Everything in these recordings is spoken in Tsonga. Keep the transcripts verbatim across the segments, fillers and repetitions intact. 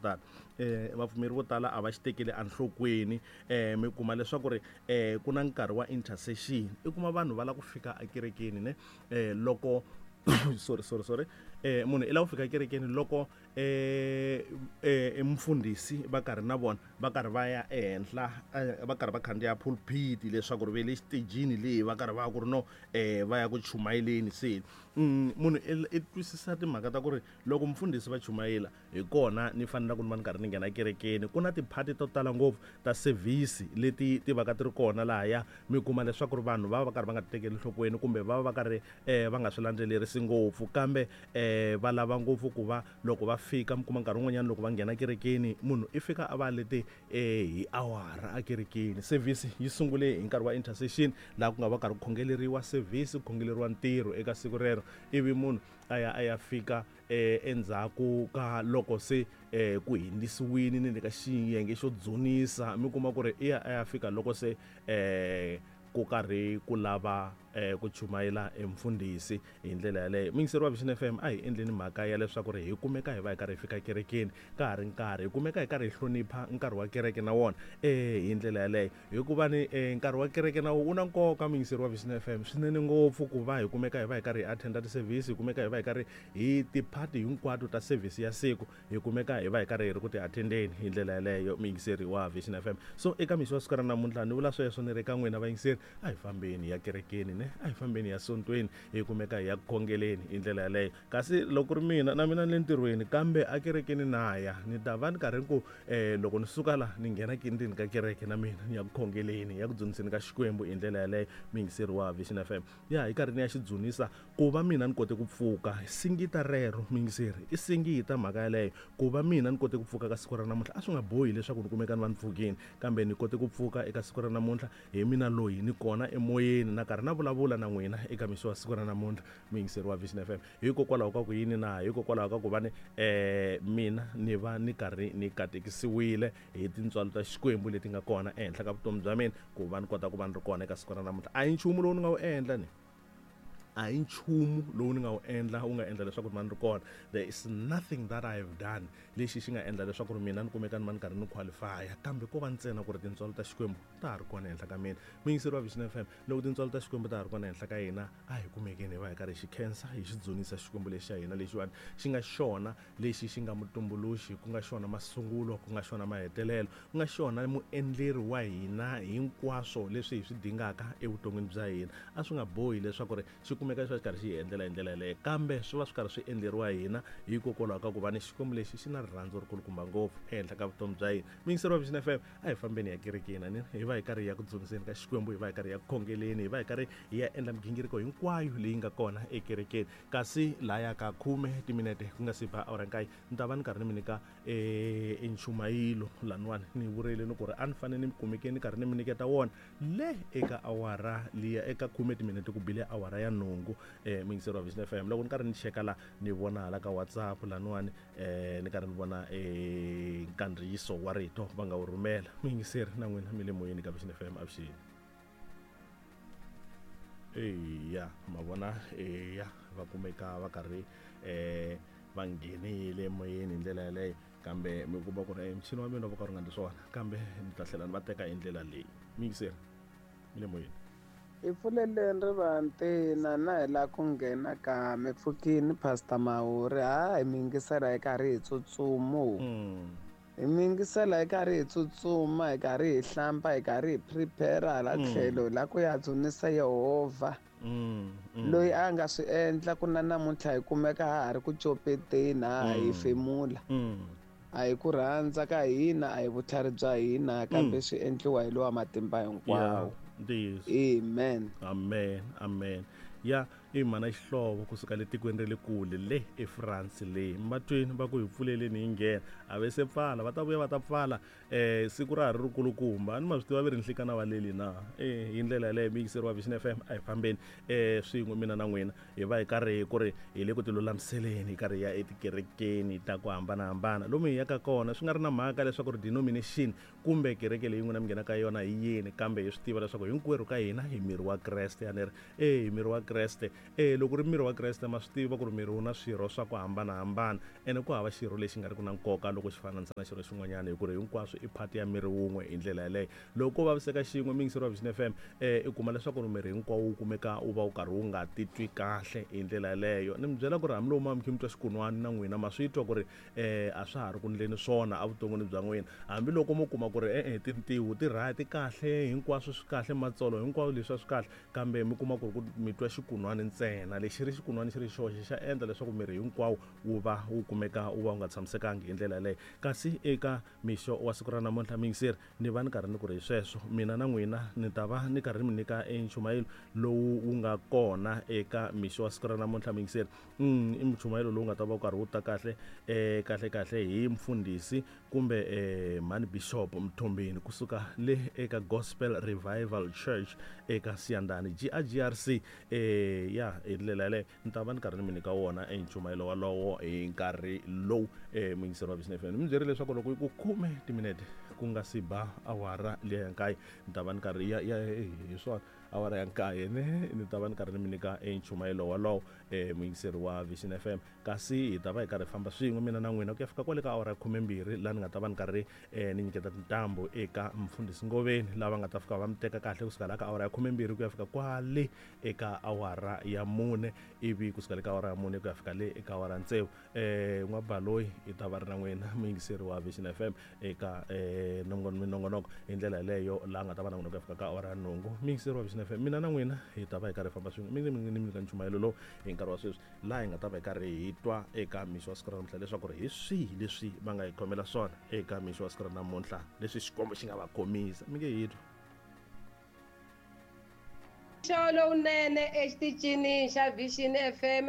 tala um vapfumeri vo tala a va xi tekeli enhlokweni. um mi kuma leswaku ri um ku na nkarhi wa intercession, i kuma vanhu va lava ku fika ekerekeni ne um loko sorry sorry sorry eh munhu i lava ku fika ekerekeni loko eh eh mfundhisi va karhi na vona va karhi va ya ehenhla, va karhi va khandziya pulpit leswaku ri ve le xitejini leyi va karhi va ku ri no eh va ya ku chumayeleni. Se munhu i twisisa timhaka ta ku ri loko mfundhisi va chumayela hi kona ni fanele ku ni va ni karhi ni nghena ekerekeni. Ku na tiphati to tala ngopfu ta service leti ti va ka ti ri kona lahaya, mi kuma leswaku ri vanhu va va karhi va nga ti tekeli enhlokweni kumbe va va va karhi eh va nga swi landzelerisi ngopfu, kambe eh va lava ngopfu ku va loko va fika mi kuma nkarhi wun'wanyana loko va nghena kerekeni munhu i fika a va lete eh hi awara ekerekeni. Service yi sungule hi nkarhi wa intercession laha ku nga va karhi ku khongeleriwa service, ku khongeleriwa ntirho eka siku rero, ivi munhu a ya a ya fika eh endzhaku ka loko se eh ku hindisiwile ni le ka xiyenge xo dzunisa, mi kuma ku ri i ya a ya fika loko se eh ku karhi ku lava eh ku chumayela emfundhisi hi ndlela yaleyo. Muyingiseri wa Vision F M, a hi endleni mhaka ya leswaku ri hi kumeka hi va hi karhi hi fika kerekeni ka ha ri nkarhi, hi kumeka hi karhi hi hlonipha nkarhi wa kereke na wona eh hi ndlela yaleyo, hikuva ni eh, nkarhi wa kereke na wona wu na nkoka. Muyingiseri wa Vision F M, swinene ngopfu ku va hi kumeka hi va hi karhi hi attenda ti-service, hi kumeka hi va hi karhi hi tiphati hinkwato ta service ya siku, hi kumeka hi va hi karhi hi ri ku ti attendeni hi ndlela yaleyo. Muyingiseri wa Vision F M, so eka mixo wa siku ra namuntlha ni vula sweswo ni ri ka n'wina vayingiseri, a hi fambeni ya kerekeni ne, a hi fambeni ya sontweni, hi kumeka hi ya khongeleni hi ndlela yaleyo. Kasi loko ri mina na mina ni le ntirhweni, kambe akerekeni na ya ni ta va ni karhi ku eh loko ni suka la ni nghena ndzeni ka kereke na mina ni ya ku khongeleni, ya ku dzuniseni ka Xikwembu hi ndlela yaleyo. Muyingiseri wa Vision F M, ya hi karhi ni ya xi dzunisa ku va mina ni kote ku pfuka singita rero. Muyingiseri, i singita mhaka yaleyo ku va mina ni kote ku pfuka ka siku ra namuntlha. A swi nga bohi leswaku ni kumeka ni va ni pfukile, kambe ni kote ku pfuka eka siku ra namuntlha hi mina loyi ni kona emoyeni na karhi na vulavula na n'wina eka mixo wa siku ra namuntlha. Muyingiseri wa Vision F M, hikokwalaho ka ku yini na hikokwalaho ka ku va ni eh mina ni va ni karhi ni katekisiwile hi tintswalo ta Xikwembu leti nga kona ehenhla ka vutomi bya mina ku va ni kota ku va ni ri kona eka siku ra namuntlha. A hi nchumu lowu ni nga wu endla ni a hi nchumu lowu ni nga wu endla wu nga endla leswaku ni va ni ri kona. There is nothing that I have done lexi xi nga endla leswaku ri mina ni kumeka ni va ni karhi ni qualify-a, kambe ko va ntsena ku ri tintswalo ta Xikwembu ta ha ri kona ehenhla ka mina. Muyingiseri wa Vision F M, loko tintswalo ta Xikwembu ta ha ri kona ehenhla ka hina, a hi kumekeni hi va hi karhi hi xi khensa, hi xi dzunisa Xikwembu lexi xa hina lexiwani xi nga xona lexi xi nga mutumbuluxi, ku nga xona masungulo, ku nga xona mahetelelo, ku nga xona muendleri wa hina hinkwaswo leswi hi swi dingaka evuton'wini bya hina. A swi nga bohi leswaku ri xi kumeka swi va xi karhi xi hi endlela hi ndlela yaleyo, kambe swi va swi karhi swi endleriwa hina hikokwalaho ka ku va ni Xikwembu lexi xi na rirhandzu ri kulukumba ngopfu ehenhla ka vutomi bya hina. Muyingiseri wa Vision F M, a hi fambeni ya kerekeni ani hi va hi karhi hi ya ku dzuniseni ka Xikwembu, hi va hi karhi hi ya ku khongeleni, hi va hi karhi hi ya endla migingiriko hinkwayo leyi nga kona ekerekeni. Kasi laya ka khume timinete ku nga si ba awara nkaye, ni ta va ni karhi ni mi nyika eh nchumayilo laniwani ni vurile ni ku ri a ni fanele ni kumeke ni karhi ni mi nyiketa wona le eka awara liya eka khume timinete ku bile awara ya nhungu. eh muyingiseri wa Vision F M, loko ni karhi ni cheka la ni vona hala ka WhatsApp laniwani eh ni karhi ni vona eh nkandziyiso wa rito va nga wu rhumela. Muyingiseri na n'wina mi le moyeni ka Vision F M, avuxeni. Eya ma vona, eya va kumeka va karhi eh va nghenile emoyeni hi ndlela yaleyo, kambe mi kuma ku ri muchini wa mina va ka ri nga ndli swona, kambe ni ta tlhela ni va teka hi ndlela leyi. Muyingiseri mi le moyeni. Hi pfuleleni rivantina na hi la ku nghena ka mi pfukini Pastor Mawuri, ha hi mi yingisela hi karhi hi tsutsumo. Hi mi yingisela hi karhi hi tsutsuma, hi karhi hi hlamba, hi karhi hi prepare hala tlhelo la ku ya dzunisa Yehovha. Loyi a nga swi endla ku na namuntlha hi kumeka ha ha ri ku copeteni, ha ha hefemula. A hi ku rhandza ka hina, a hi vutlhari bya hina, kambe swi endliwa hi lowa matimba hinkwawo. Amen. Amen, amen. Ya i mhana xihlovo kusuka le tikweni ra le kule le eFrance le matweni va ku hi pfuleleni hi nghena, a ve se pfala, va ta vuya va ta pfala eh siku ra ha ri rikulukumba. A ni ma swi tiva ve ri nhlikana va leli na eh hi ndlela yaleyo. Muyingiseri wa Vision F M, a hi fambeni eh swin'we mina na n'wina hi va hi karhi ku ri hi le ku tilulamiseleni, hi karhi hi ya etikerekeni ta ku hambanahambana lomu hi yaka kona, swi nga ri na mhaka leswaku ri denomination kumbe kereke leyi n'wina mi nghenaka yona hi yini, kambe hi swi tiva leswaku hinkwerhu ka hina hi miri wa Kreste. A ni ri eh hi miri wa Kreste eh loko ri miri wa Kreste ma swi tiva ku ri miri wu na swirho swa ku hambanahambana ene ku hava xirho lexi nga ri ku na nkoka loko xi fananisa na xirho xin'wanyana hi ku ri hinkwaswo i part ya miri wun'we hi ndlela yaleyo. Loko ko vaviseka xin'we muyingiseri wa Vision F M eh i kuma leswaku ri miri hinkwawo wu kumeka wu va wu karhi wu nga titwi kahle hi ndlela yaleyo. Ni mi byela ku ri hambiloko ma mi kha mi twa xikun'wana na n'wina ma swi twa ku ri eh a swa ha ri ku ndleni swona evuton'wini bya n'wina, hambiloko mo kuma ku ri e-e tintiho ti right ti kahle hinkwaswo swi kahle matsolo hinkwaswo leswi a swi kahle, kambe mi kuma ku ri ku mi twa xikun'wana ntsena lexi ri xikun'wana xi ri xoxe xa endla leswaku miri hinkwawo wu va wu kumeka wu va wu nga tshamisekangi hi ndlela yaleyo. Kasi eka mixo wa siku ra namuntlha muyingiseri ni va ni karhi ni ku ri hi sweswo mina na n'wina ni ta va ni karhi ni mi nyika enchumayelo lowu wu nga kona eka mixo wa siku ra namuntlha muyingiseri. Mm, i nchumayelo lowu nga ta va wu karhi wu ta kahle eh kahle kahle hi mfundhisi kumbe eh mhani Bishop Mthombeni kusuka le eka Gospel Revival Church eka Siyandhani G A G R C eh ya hi ndlela yaleyo ni ta va ni karhi ni mi nyika wona enchumayelo walowo hi nkarhi lowu eh muyingiseri wa Vision F M. Ni mi byerile leswaku loko ku khume timinete ku nga si ba awara liya ya nkaye ni ta va ni karhi ya ya hi swona awara ya nkaye ne ni ta va ni karhi ni mi nyika enchumayelo walowo eh muyingiseri wa Vision F M. Kasi hi ta va hi karhi famba swin'we mina na n'wina ku ya fika kwale ka awara ya khumembirhi laha ni nga ta va ni karhi eh ni nyiketa tintambu eka mfundhisi Ngoveni lava nga ta fika va mi teka kahle kusuka laha ka awara ya khumembirhi ku ya fika kwale eka awara ya mune, ivi kusuka le ka awara ya mune ku ya fika le eka awara ya tsevu eh n'wabaloyi hi ta va ri na n'wina muyingiseri wa Vision F M eka eh minongonoko hi ndlela yaleyo laha nga ta va na n'wina ku ya fika ka awara ya nhungu. Muyingiseri wa Vision F M, mina na n'wina hi ta va hi karhi hi famba swin'we mi ni mi nyika nchumayelo lowu hi nkarhi wa sweswi laha hi nga ta va hi karhi hi twa eka mixo wa siku ra namuntlha leswaku ri hi swihi leswi va nga hi khomela swona eka mixo wa siku ra namuntlha leswi Xikwembu xi nga va khomisa. Mi nge hi twa mixo lowunene exitichini xa Vision F M.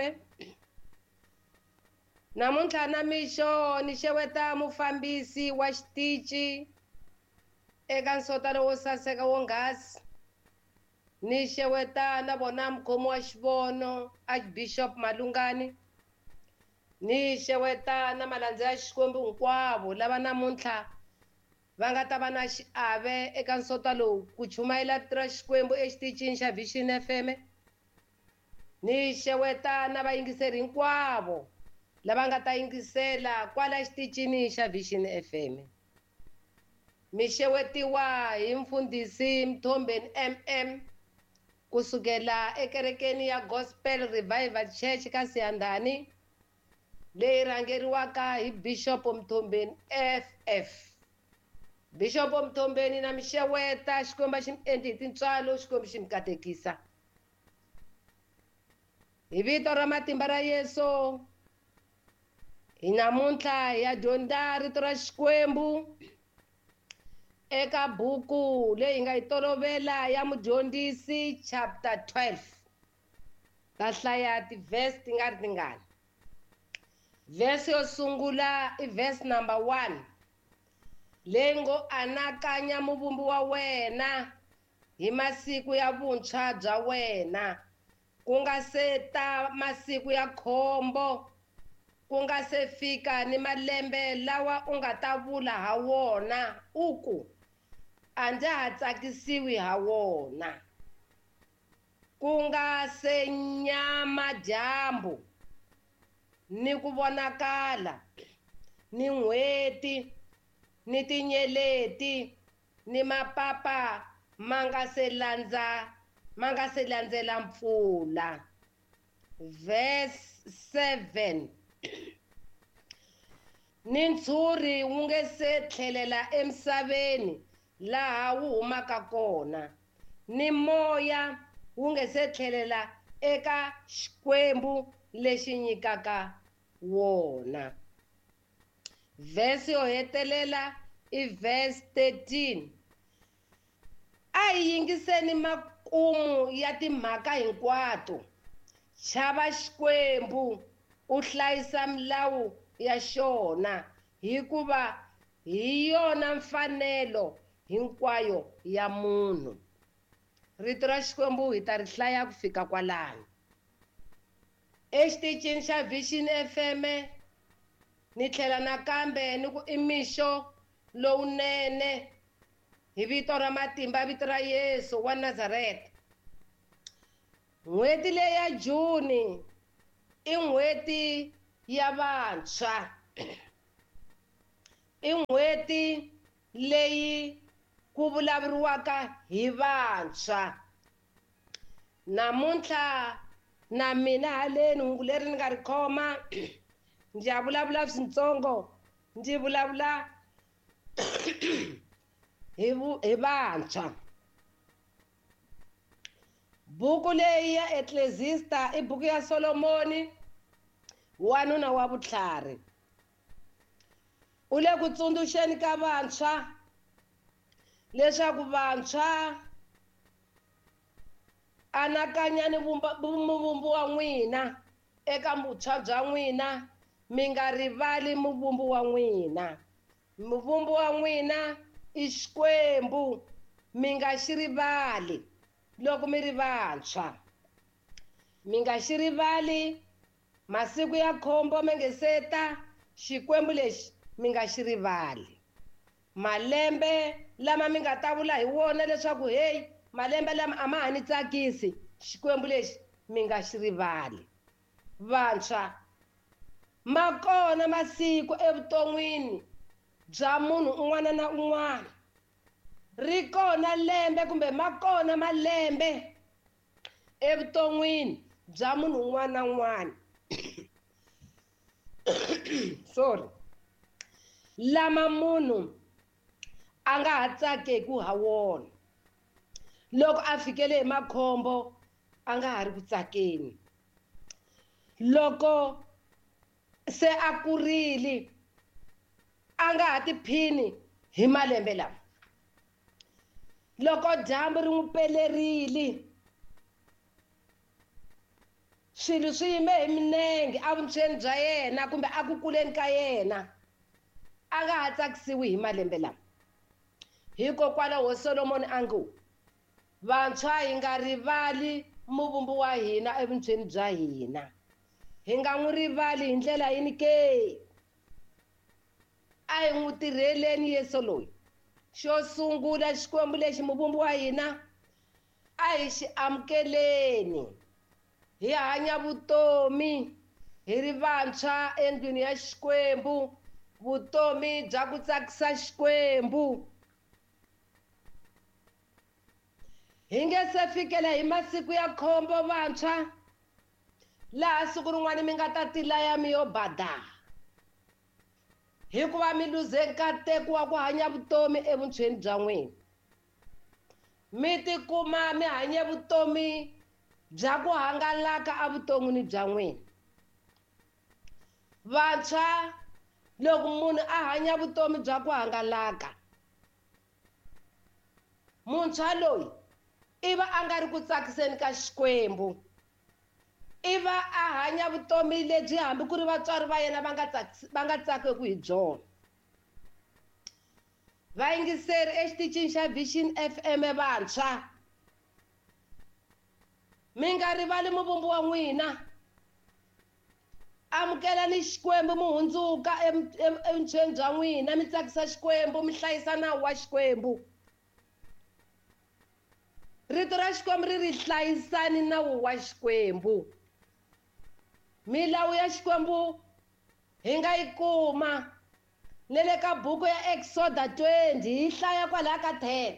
Namuntlha na mixo ni xeweta mufambisi wa xitichi eka nsotano wo saseka wonghasi, ni xeweta na vona mukhomi wa xivono Archbishop Malungani, ni xeweta na malandza ya Xikwembu hinkwavo lava namuntlha va nga ta va na xiave eka nsota lowu ku chumayela vito ra Xikwembu exitichini xa Vision F M. Ni xeweta na vayingiseri hinkwavo lava nga ta yingisela kwala xitichini xa Vision F M. Mi xewetiwa hi mfundhisi Mthombeni M M kusukela ekerekeni ya Gospel Revival Church ka Siyandhani leyi rhangeriwaka hi Bishop Mthombeni F F. Bishop Mthombeni na mi xeweta, Xikwembu xi mi endli hi tintswalo, Xikwembu xi mi katekisa. Hi vito ra matimba ra Yesu, hi namuntlha hi ya dyondza rito ra Xikwembu eka buku leyi nga yi tolovela ya Mudyondzisi chapter twelve. Ta hlaya ti-verse ti nga ri tingani. Verse yo sungula i verse number one leyi ngo anakanya muvumbi wa wena hi masiku ya vuntshwa bya wena, ku nga se ta masiku ya khombo, ku nga se fika ni malembe lawa u nga ta vula ha wona u ku a ndza ha tsakisiwi ha wona, ku nga se nyama dyambu ni ku vonakala ni n'hweti ni tinyeleti ni mapapa ma nga se landza ma nga se landzela mpfula. Verse seven ni ntshuri wu nge se tlhelela emisaveni laha wu humaka kona, ni moya wu nge se tlhelela eka Xikwembu lexi nyikaka wona. Verse yo hetelela i verse thirteen. A hi yingiseni makumu ya timhaka hinkwato. Chava Xikwembu u hlayisa milawu ya xona, hikuva hi yona mfanelo hinkwayo ya munhu. Rito ra Xikwembu hi ta ri hlaya ku fika kwalano. Exitichini xa Vision F M ni tlhela nakambe ni ku i mixo lowunene hi vito ra matimba vito ra Yesu wa Nazareta. N'hweti leyi ya Juni i n'hweti ya vantshwa. I n'hweti leyi ku vulavuriwaka hi vantshwa. Namuntlha na mina haleni hungu leri ni nga ri khoma ndzi ya vulavula swintsongo, ndzi vulavula hi hi vantshwa. Buku leyi ya Ecclesiastes i buku ya Solomoni, wanuna wa vutlhari. U le ku tsundzuxeni ka vantshwa leswaku vantshwa anakanyani muvumbi wa n'wina eka vutshwa bya n'wina, mi nga rivali muvumbi wa n'wina. Muvumbi wa n'wina i Xikwembu, mi nga xi rivali loko mi ri vantshwa. Mi nga xi rivali masiku ya khombo mi nge se ta, Xikwembu lexi mi nga xi rivali. Malembe lama mi nga ta vula hi wona leswaku hey, malembe lama a ma ha ni tsakisi, Xikwembu lexi mi nga xi rivali. Vantshwa, ma kona masiku evuton'wini bya munhu un'wana na un'wana. Ri kona lembe kumbe ma kona malembe evuton'wini bya munhu un'wana na un'wana. Sorry. Lama munhu a nga ha tsakeki ha wona. Loko a fikele hi makhombo a nga ha ri ku tsakeni. Loko se a kurile a nga ha tiphini hi malembe lama. Loko dyambu ri n'wi pelerile, swilo swi yime hi minenge evuntshweni bya yena kumbe a ku kuleni ka yena, a nga ha tsakisiwi hi malembe lama. Hikokwalaho Solomoni a ngo, vantshwa hi nga rivali muvumbi wa hina evuntshweni bya hina. Hi nga n'wi rivali hi ndlela yini ke? A hi n'wi tirheleni Yesu loyi. Xo sungula, Xikwembu lexi muvumbi wa hina a hi xi amukeleni. Hi hanya vutomi hi ri vantshwa endlwini ya Xikwembu, vutomi bya ku tsakisa Xikwembu. Hi nge se fikela hi masiku ya khombo vantshwa, laha siku rin'wana mi nga ta tilaya mi yo bada, hikuva mi luze nkateko wa ku hanya vutomi evuntshweni bya n'wina. Mi tikuma mi hanye vutomi bya ku hangalaka evuton'wini bya n'wina. Vantshwa, loko munhu a hanya vutomi bya ku hangalaka, muntshwa loyi i va a nga ri ku tsakiseni ka Xikwembu. I va a hanya vutomi lebyi hambi ku ri vatswari va yena va nga va nga tsakeki hi byona. Vayingiseri exitichini xa Vision F M vantshwa, mi nga rivali muvumbi wa n'wina. Amukelani Xikwembu, mi hundzuka evuntshweni bya n'wina, mi tsakisa Xikwembu, mi hlayisa nawu wa Xikwembu. Rito ra Xikwembu ri ri hlayisani nawu wa Xikwembu. Milawu ya Xikwembu hi nga yi kuma ne le ka buku ya Exoda twenty, hi hlaya kwalaya ka ten.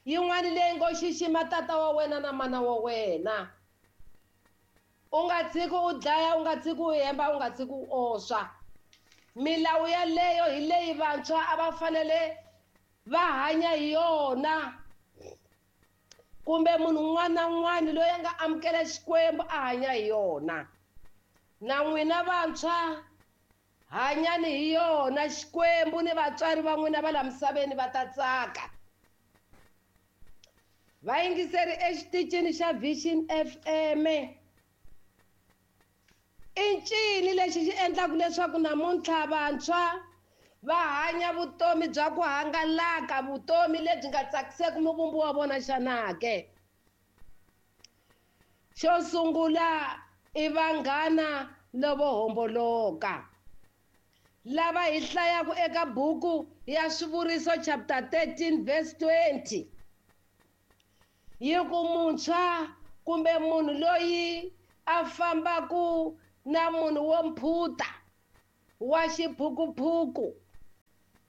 Yin'wana leyi ngo xixima tata wa wena na mana wa wena. U nga tshiki u dlaya, u nga tshiki u hemba, u nga tshiki u oswa. Milawu yaleyo hi leyi vantshwa a va fanele va hanya hi yona, kumbe munhu un'wana na un'wana loyi a nga amukela Xikwembu a hanya hi yona. Na n'wina vantshwa hanyani hi yona, Xikwembu ni vatswari va n'wina va la misaveni va ta tsaka. Vayingiseri exitichini xa Vision F M, i ncini lexi xi endlaka leswaku namuntlha vantshwa va hanya vutomi bya ku hangalaka, vutomi lebyi nga tsakiseki muvumbi wa vona xana ke? Xo sungula i vanghana lavo homboloka, lava hi hlayaka eka buku ya Swivuriso chapter thirteen verse twenty. Yi ku muntshwa kumbe munhu loyi a fambaku na munhu wo mphuta wa xiphukuphuku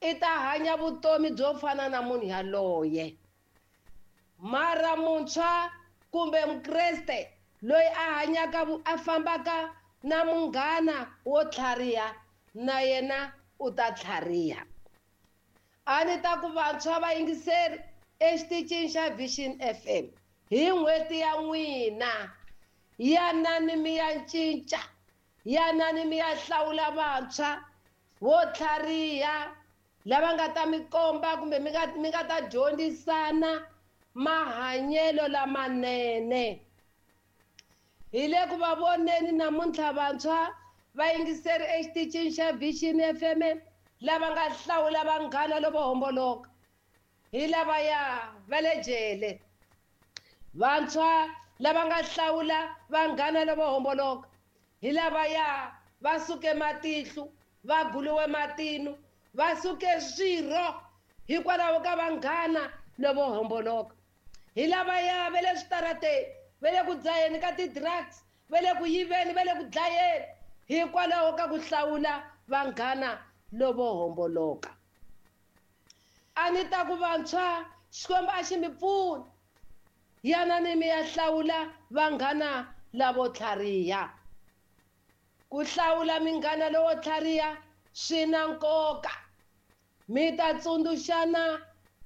i ta hanya vutomi byo fana na munhu yaloye. Mara muntshwa kumbe mukreste loyi a hanyaka a fambaka na munghana wo tlhariha na yena u ta tlhariha. A ni ta ku vantshwa vayingiseri exitichini xa Vision F M hi n'hweti ya n'wina, yanani mi ya cinca, yanani mi ya hlawula vantshwa vo tlhariha lava nga ta mi komba kumbe mi nga mi nga ta dyondzisana mahanyelo lamanene. Hi le ku va voneni namuntlha vantshwa vayingiseri exitichini xa Vision F M lava nga hlawula vanghana lavo homboloka hi lavaya va le jele. Vantshwa lava nga hlawula vanghana lavo homboloka hi lavaya va suke matihlo, va guluwe matino, va suke swirho hikwalaho ka vanghana lavo homboloka. Hi lavaya va le switarateni, va le ku dzaheni ka ti-drugs, va le ku yiveni, va le ku dlayeni hikwalaho ka ku hlawula vanghana lovo homboloka. A ni ta ku vantshwa Xikwembu a xi mi pfuni, yanani mi ya hlawula vanghana lavo tlhariha. Ku hlawula minghana lowo tlhariha swi na nkoka. Mi ta tsundzuxana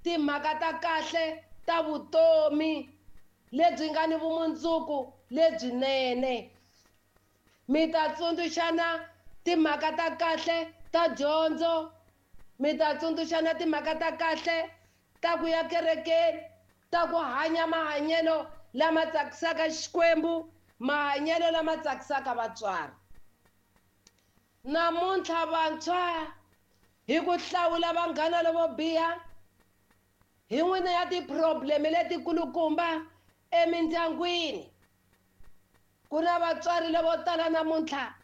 timhaka ta kahle ta vutomi lebyi nga ni vumundzuku lebyinene. Mi ta tsundzuxana timhaka ta kahle ta dyondzo, mi ta tsundzuxana timhaka ta kahle ta ku ya kerekeni, ta ku hanya mahanyelo lama tsakisaka Xikwembu, mahanyelo lama tsakisaka vatswari. Namuntlha vantshwa hi ku hlawula vanghana lavo biha hi n'wina ya ti-problem letikulukumba emindyangwini. Ku na vatswari lavo tala namuntlha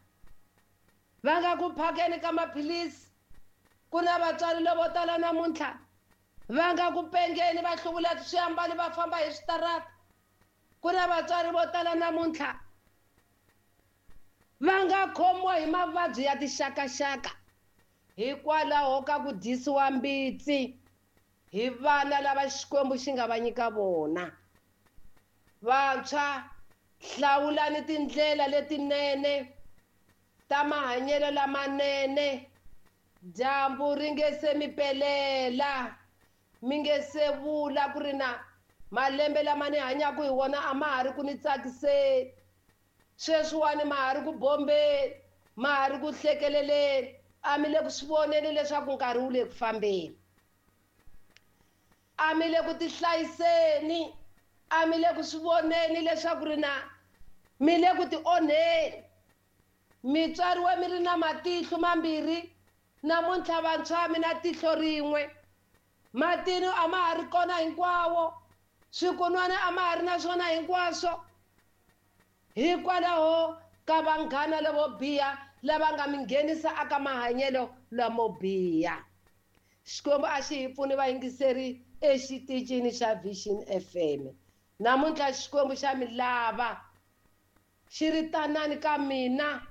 va nga ku phakeni ka maphilisi, ku na vatswari lavo tala namuntlha va nga ku pengeni va hluvula swiambalo va famba hi switarata. Ku na vatswari vo tala namuntlha va nga khomiwa hi mavabyi ya tixakaxaka hikwalaho ka ku dyisiwa mbitsi hi vana lava Xikwembu xi nga va nyika vona. Vantshwa, hlawulani tindlela letinene ta mahanyelo lamanene. Dyambu ri nge se mi pelela, mi nge se vula ku ri na malembe lama ni hanyaka hi wona a ma ha ri ku ni tsakiseni, sweswiwani ma ha ri ku bombeni, ma ha ri ku hlekeleleni, a mi le ku swi voneni leswaku nkarhi wu le ku fambeni. A mi le ku tihlayiseni, a mi le ku swi voneni leswaku ri na mi le ku ti onheni. Mi tswariwe mi ri na matihlo mambirhi, namuntlha vantshwa mi na tihlo rin'we. Matino a ma ha ri kona hinkwawo, swikunwana a ma ha ri na swona hinkwaswo hikwalaho ka vanghana lavo biha lava nga mi nghenisa aka mahanyelo lamo biha. Xikwembu a xi hi pfuni vayingiseri exitichini xa Vision F M. Namuntlha Xikwembu xa mi lava, xi ri tanani ka mina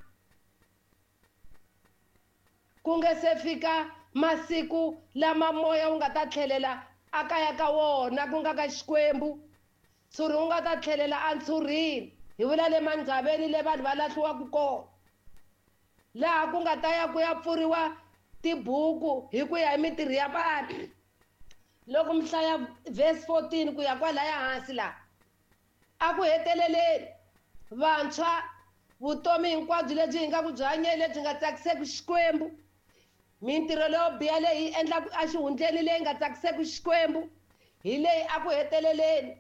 ku nge se fika masiku lama moya wu nga ta tlhelela akaya ka wona, ku nga ka Xikwembu. Ntshuri wu nga ta tlhelela entshurini, hi vula le mandzaveni le vanhu va lahliwaka kona, laha ku nga ta ya ku ya pfuriwa tibuku hi ku ya hi mintirho ya vanhu. Loko mi hlaya verse fourteen ku ya kwalaya hansi laha, a ku heteleleni vantshwa vutomi hinkwabyo lebyi hi nga ku byi hanyeni lebyi nga tsakiseki Xikwembu, mintirho leyo biha leyi hi endlaka exihundleni leyi nga tsakiseki Xikwembu, hi leyi a ku heteleleni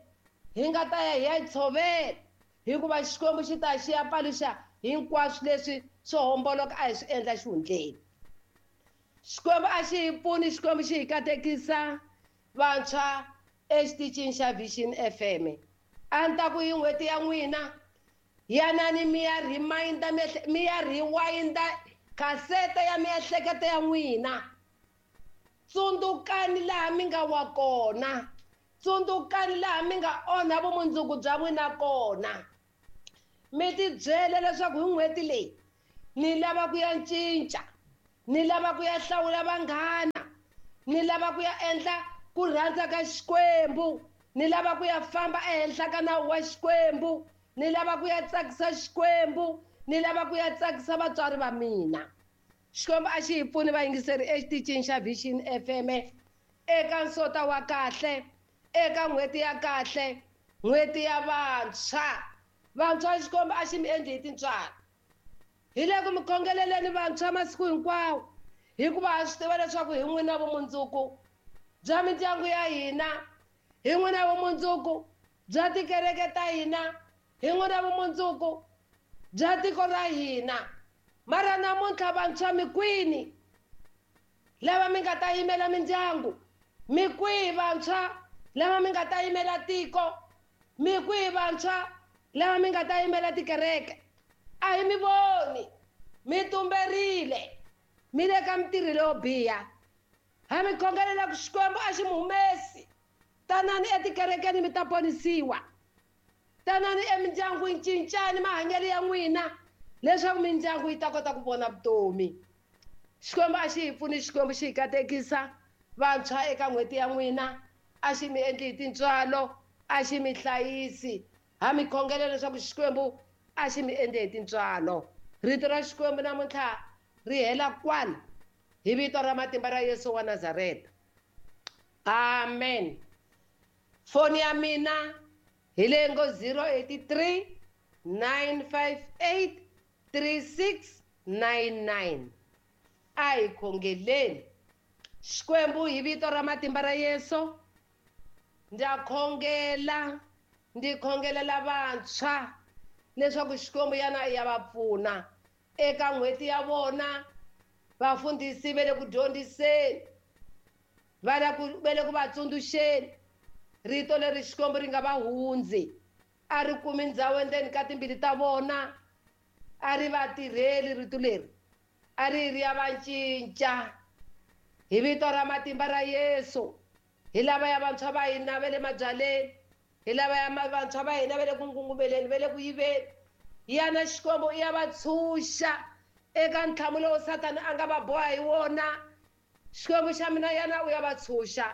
hi nga ta ya hi ya yi tshovela, hikuva Xikwembu xi ta xi ya paluxa hinkwaswo leswi swo homboloka a hi swi endla xihundleni. Xikwembu a xi hi pfuni, Xikwembu xi hi katekisa vantshwa exitichini xa Vision F M. A ni ta ku hi n'hweti ya n'wina, yanani mi ya reminder, mi ya rewinda kasete ya miehleketo ya n'wina. Tsundzukani laha mi nga wa kona, Tsundzukani laha mi nga onha vumundzuku bya n'wina kona. Mi tibyele leswaku hi n'hweti leyi ni lava ku ya cinca, ni lava ku ya hlawula vanghana, ni lava ku ya endla ku rhandza ka Xikwembu, ni lava ku ya famba ehenhla ka nawu wa Xikwembu, ni lava ku ya tsakisa Xikwembu, ni lava ku ya tsakisa vatswari va mina. Xikwembu a xi hi pfuni vayingiseri exitichini xa Vision F M eka nsota wa kahle, eka n'hweti ya kahle, n'hweti ya vantshwa. Vantshwa Xikwembu a xi mi endli hi tintswalo. Hi le ku mi khongeleleni vantshwa masiku hinkwawo, hikuva ha swi tiva leswaku hi n'wina vumundzuku bya mindyangu ya hina, hi n'wina vumundzuku bya tikereke ta hina, hi n'wina vumundzuku bya tiko ra hina. Mara namuntlha vantshwa mi kwini lava mi nga ta yimela mindyangu? Mi kwihi vantshwa lava mi nga ta yimela tiko? Mi kwihi vantshwa lava mi nga ta yimela tikereke? A hi mi voni, mi tumberile, mi le ka mintirho leyo biha. Ha mi khongelela ku Xikwembu a xi mi humesi. Tanani etikerekeni mi ta ponisiwa. Tanani emindyangwini, cincani mahanyelo ya n'wina leswaku mindyangu yi ta kota ku vona vutomi. Xikwembu a xi hi pfuni, Xikwembu xi hi katekisa vantshwa eka n'hweti ya n'wina. A xi mi endli hi tintswalo, a xi mi hlayisi. Ha mi khongelela leswaku Xikwembu a xi mi endli hi tintswalo. Rito ra Xikwembu namuntlha ri hela kwala hi vito ra matimba ra Yesu wa Nazareta. Amen. Foni ya mina hi leyi ngo zero eight three nine five eight three six nine nine. A hi khongeleni. Xikwembu hi vito ra matimba ra Yesu, ndza khongela, ndzi khongelela vantshwa leswaku Xikwembu yana ya va pfuna eka n'hweti ya vona. Vafundhisi va le ku dyondziseni, va le ku va le ku va tsundzuxeni rito leri Xikwembu ri nga va hundzi, a ri kumi ndhawu endzeni ka timbilu ta vona, a ri va tirheli rito leri, a ri ri ya va cinca. Hi vito ra matimba ra Yesu, hi lava ya vantshwa va hina va le mabyaleni, hi lava ya vantshwa va hina va le ku ngungumeleni, va le ku yiveni. Yana Xikwembu i ya va tshunxa eka ntlhamu lowu Sathana a nga va boha hi wona. Xikwembu xa mina yana u ya va tshunxa.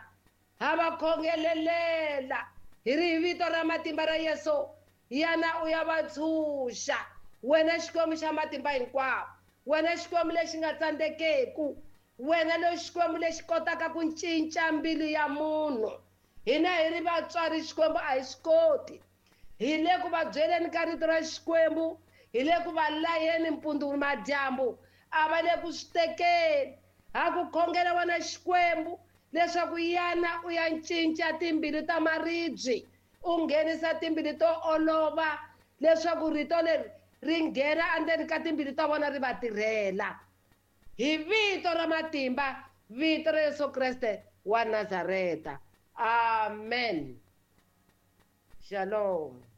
Ha va khongelelela hi ri hi vito ra matimba ra Yesu, yana u ya va tshunxa. Wena Xikwembu xa matimba hinkwawo, wena Xikwembu lexi nga tsandzekeki, wena lo Xikwembu lexi kotaka ku cinca mbilu ya munhu. Hina hi ri vatswari Xikwembu a hi swi koti. Hi le ku va byeleni ka rito ra Xikwembu, hi le ku va layeni mpundzu madyambu, a va le ku swi tekeni. Ha ku khongela wena Xikwembu leswaku yana u ya cinca timbilu ta maribye, u nghenisa timbilu to olova leswaku rito leri ri nghena endzeni ka timbilu ta vona ri va tirhela. Hi vito ra matimba, vito ra Yesu Kreste wa Nazareta. Amen. Shalom.